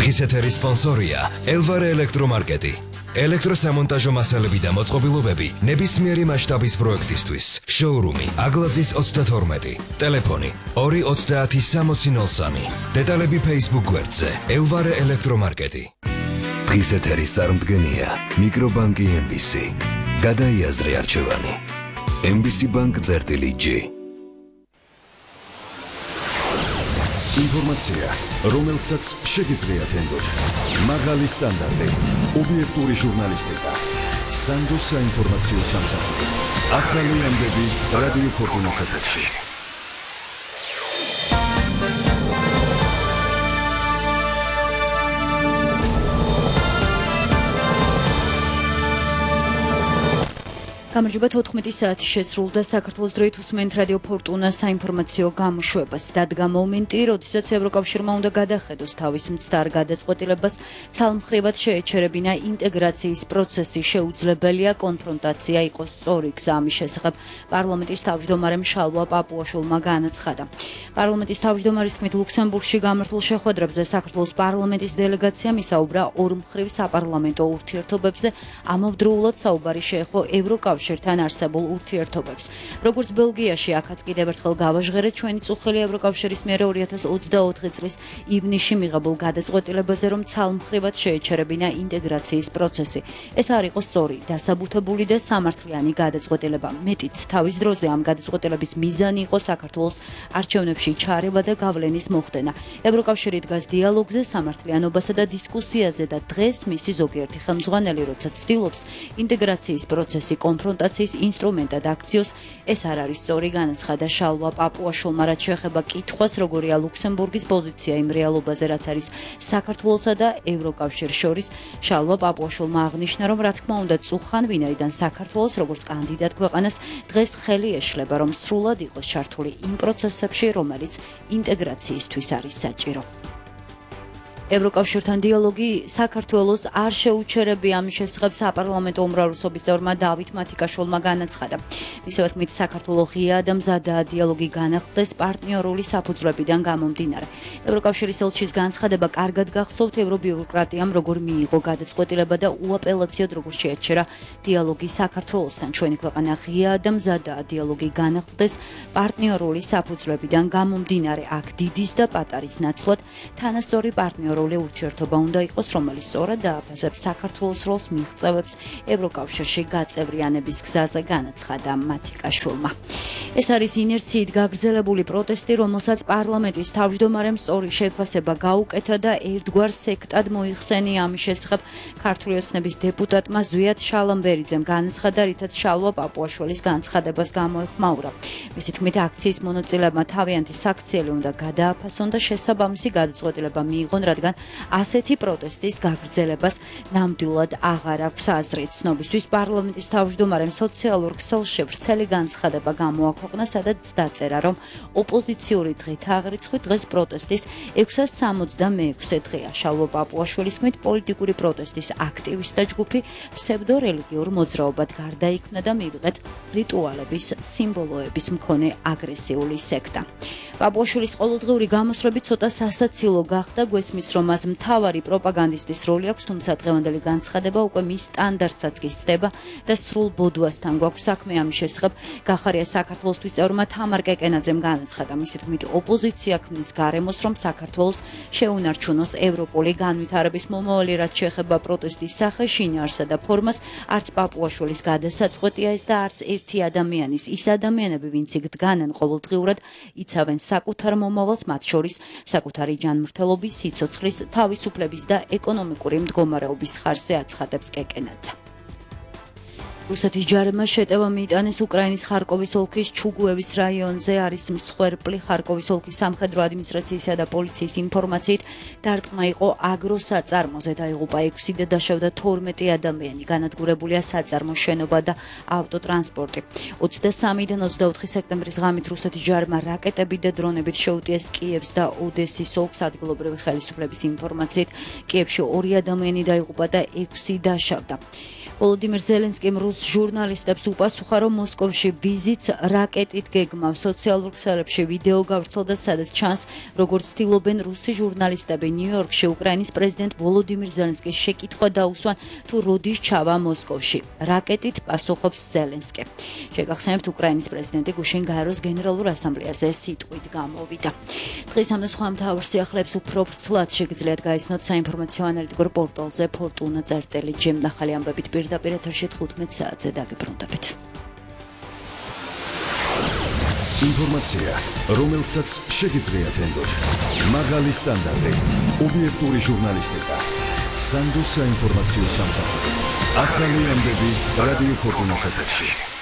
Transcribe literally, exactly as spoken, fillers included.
დღის ეთერის სპონსორია ელვარე ელექტრომარკეტი. ელექტროსამონტაჟო მასალები და მოწყობილობები ნებისმიერი მასშტაბის პროექტისთვის. შოურუმი აგლაძის ოცდათორმეტი. ტელეფონი ორი ოცდაათი სამოცი ნოლ სამი. დეტალები Facebook გვერდზე ელვარე ელექტრომარკეტი. დღის ეთერის წარმდგენია მიკრობანკი ემ ბი სი. გადაიაზრე არჩევანი. ემ ბი სი ბანკ წერტილი ჯი. ინფორმაცია, რომელსაც შეგიძლიათ ენდოთ. მაღალი სტანდარტი, ობიექტური ჟურნალისტიკა. სანდო საინფორმაციო სამსახური. ახალი ამბები რადიო ფორტუნას ეთერში. გამარჯობა, თოთხმეტი საათი შესრულდა. საქართველოს დროით უსმენთ რადიო ფორტუნას საინფორმაციო გამოშვებას. დადგა მომენტი, როდესაც ევროკავშირმა უნდა გადახედოს თავის მცდარ გადაწყვეტილებას, ცალმხრივად შეეჩერებინა ინტეგრაციის პროცესი. შეუძლებელია კონფრონტაცია იყოს სწორი გზა. ამის შესახებ პარლამენტის თავმჯდომარემ შალვა პაპუაშვილმა განაცხადა. პარლამენტის თავმჯდომარის თქმით, ლუქსემბურგში გამართულ შეხვედრებზე საქართველოს პარლამენტის დელეგაციამ ისაუბრა ორმხრივ საპარლამენტო ურთიერთობებზე, ამავდროულად საუბარი შეეხო ევროკავშირ თან არსებულ ურთიერთობებს. როგორც ბელგიაში, აქაც კიდევ ერთხელ გავაჟღერეთ ჩვენი წუხელი ევროკავშირის მიერ ორი ათას ოცდაოთხი წლის ივნისში მიღებულ გადაწყვეტილებაზე, რომ ცალმხრივად შეეჩერებინა ინტეგრაციის პროცესი. ეს არ იყო სწორი, დასაბუთებული და სამართლიანი გადაწყვეტილება. მეტიც, თავის დროზე ამ გადაწყვეტილების მიზანი იყო საქართველოს არჩევნებში ჩარევა და გავლენის მოხდენა. ევროკავშირი დგას დიალოგზე, სამართლიანობასა და დისკუსიაზე და დღეს მისი ზოგიერთი ხელმძღვანელი, როცა ცდილობს ინტეგრაციის პროცესი კონფრონტაციის ინსტრუმენტად აქციოს, ეს არ არის სწორი, განაცხადა შალვა პაპუაშვილმა. რაც შეეხება კითხვას, როგორია ლუქსემბურგის პოზიცია იმ რეალობაზე, რაც არის საქართველოსა და ევროკავშირს შორის, შალვა პაპუაშვილმა აღნიშნა, რომ რა თქმა უნდა წუხან, ვინაიდან საქართველოს როგორც კანდიდატ ქვეყანას დღეს ხელი ეშლება, რომ სრულად იყოს ჩართული იმ პროცესებში, რომელიც ინტეგრაციისთვის არის საჭირო. ევროკავშირთან დიალოგი საქართველოს არ შეუჩერებია. ამის შესახებ საპარლამენტო უმრავლესობის წევრმა დავით მათიკაშვილმა განაცხადა. მისივე თქმით, საქართველოს ღია და მზადაა დიალოგი განახლდეს პარტნიორული საფუძვლებიდან გამომდინარე. ევროკავშირის ელჩის განცხადება კარგად გახსოვთ, ევრობიუროკრატიამ როგორ მიიღო გადაწყვეტილება და უაპელაციოდ როგორ შეაჩერა დიალოგი საქართველოსთან. ჩვენი ქვეყანა ღია და მზადაა დიალოგი განახლდეს პარტნიორული საფუძვლებიდან გამომდინარე. აქ დიდის და პატარის ნაცვლად თანასწორი პარტნიორული ურთიერთობა უნდა იყოს, რომელიც სწორად დააფასებს საქართველოს როლს მიღწევებს ევროკავშირში გაწევრიანების გზაზე, განაცხადა მათიკაშვილმა. ეს არის ინერციით გაგრძელებული პროტესტი, რომელსაც პარლამენტის თავმჯდომარემ სწორი შეფასება გაუკეთა და ერთგვარ სექტად მოიხსენია. ამის შესახებ ქართული ოცნების დეპუტატმა ზვიად შალამბერიძემ განაცხადა, რითაც შალვა პაპუაშვილის განცხადებას გამოეხმაურა. მისი თქმით, აქციის მონაწილეებმა თავიანთი საქციელი უნდა გადააფასონ და შესაბამისი გადაწყვეტილება მიიღონ, რადგან ასეთი პროტესტის გაგრძელებას ნამდვილად აღარ აქვს აზრი. ცნობისთვის პარლამენტის თავმჯდომარემ სოციალურ ქსელში ვრცელი განცხადება გამოაქვეყნა, სადაც დაწერა, რომ ოპოზიციური დღით აღრიცხვით დღეს პროტესტის ექვსას სამოცდამეექვსე დღეა. შალვა პაპუაშვილის თქმით, პოლიტიკური პროტესტის აქტივისტთა ჯგუფი ფსევდორელიგიურ მოძრაობად გარდაიქმნა და მივიღეთ რიტუალების, სიმბოლოების მქონე აგრესიული სექტა. პაპუაშვილის ყოველდღიური გამოსვლები ცოტა სასაცილო გახდა. გვესმის, რომ მას მთავარი პროპაგანდისტის როლი აქვს, თუმცა დღევანდელი განცხადება უკვე მის სტანდარტსაც კი სცდება და სრულ ბოდვასთან გვაქვს საქმე. ამის შესახებ გახარია საქართველოსთვის წევრმა თამარ კეკენაძემ განაცხადა. მისი თქმით, ოპოზიცია ქმნის გარემოს, რომ საქართველოს შეუნარჩუნოს ევროპული განვითარების მომავალი. რაც შეეხება პროტესტის სახე, შინაარსა და ფორმას, არც პაპუაშვილის გადასაწყვეტია ეს და არც ერთი ადამიანის. ის ადამიანები, ვინც იქ დგანან ყოველდღიურად, იცავენ საკუთარ მომავალს, მათ შორის საკუთარი ჯანმრთელობის, სიცოცხლის, თავისუფლების და ეკონომიკური მდგომარეობის ხარჯზე, აცხადებს კეკენაძე. რუსეთის ჯარებმა შეტევა მიიტანეს უკრაინის ხარკოვის ოლქის ჩუგუევის რაიონზე. არის მსხვერპლი. ხარკოვის ოლქის სამხედრო ადმინისტრაციისა და პოლიციის ინფორმაციით დარტყმა იყო აგროსაწარმოზე. დაიღუპა ექვსი და დაშავდა თორმეტი ადამიანი. განადგურებულია საწარმო შენობა და ავტოტრანსპორტი. ოცდასამიდან ოცდაოთხი სექტემბრის ღამით რუსეთის ჯარებმა რაკეტები და დრონებით შეუტიეს კიევს და ოდესის ოლქს. ადგილობრივი ხელისუფლების ინფორმაციით კიევში ორი ადამიანი დაიღუპა და ექვსი დაშავდა. ვოლოდიმირ ზელენსკიმ რუს ჟურნალისტებს უპასუხა, რომ მოსკოვში ვიზიტს რაკეტით გეგმავს. სოციალურ ქსელებში ვიდეო გავრცელდა, სადაც ჩანს, როგორც ცდილობენ რუსი ჟურნალისტები ნიუ-იორკში უკრაინის პრეზიდენტ ვოლოდიმირ ზელენსკის შეკითხვა დაუსვან, თუ როდის ჩავა მოსკოვში. რაკეტით პასუხობს ზელენსკი. შეგახსენებთ, უკრაინის პრეზიდენტი გუშინ გაეროს გენერალურ ასამბლეაზე სიტყვით გამოვიდა. დღის ამ და სხვა მთავარ სიახლეებს უფრო ვრცლად შეგიძლიათ გაიცნოთ საინფორმაციო ანალიტიკურ პორტალზე ფორტუნა წერტილი ჯემ. ახალი ამბებით პირდაპირ ეთერში თხუთმეტ საათზე დაგიბრუნდებით. ინფორმაცია, რომელსაც შეგიძლიათ ენდოთ. მაღალი სტანდარტი, ობიექტური ჟურნალისტიკა. სანდოს საინფორმაციო სამსახური. ახალი ამბები რადიო ფორტუნას ეთერში.